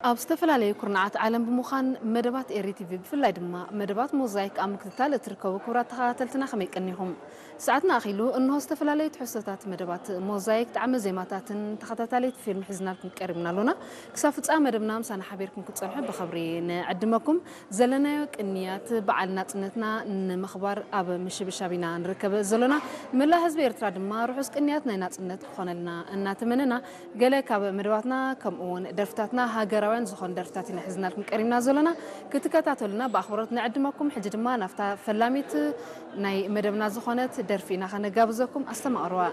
ኣብ ዝተፈላለዩ ኩርናዓት ዓለም ብምዃን መደባት ኤሪ ቲቪ ብፍላይ ድማ መደባት ሞዛይክ ኣብ ምክትታል እትርከቡ ክቡራት ተኸታተልትና ከመይ ቀኒኹም? ሰዓትና ኣኺሉ እንሆ ዝተፈላለዩ ትሕዝቶታት መደባት ሞዛይክ ጣዕመ ዜማታትን ተኸታታለይቲ ፊልም ሒዝናልኩም ቀሪብና ኣሎና። ክሳብ ፍጻመ መደብና ምሳና ሓቢርኩም ክትጸንሑ ብኽብሪ ንዕድመኩም። ዘለናዮ ቅንያት በዓል ናጽነትና ንምኽባር ኣብ ምሽብሻብ ኢና ንርከብ ዘሎና። መላእ ህዝቢ ኤርትራ ድማ ርሑስ ቅንያት ናይ ናጽነት ክኾነልና እናተመነና፣ ገለ ካብ መደባትና ከምኡ እውን ደርፍታትና ሃገራውያን ዝኾኑ ደርፍታት ኢና ሒዝናልኩም ቀሪብና ዘሎና። ክትከታተሉና ብኣኽብሮት ንዕድመኩም። ሕጂ ድማ ናብታ ፈላሚት ናይ መደብና ዝኾነት ደርፊ ኢና ከነጋብዘኩም። ኣስተማቕርዋ።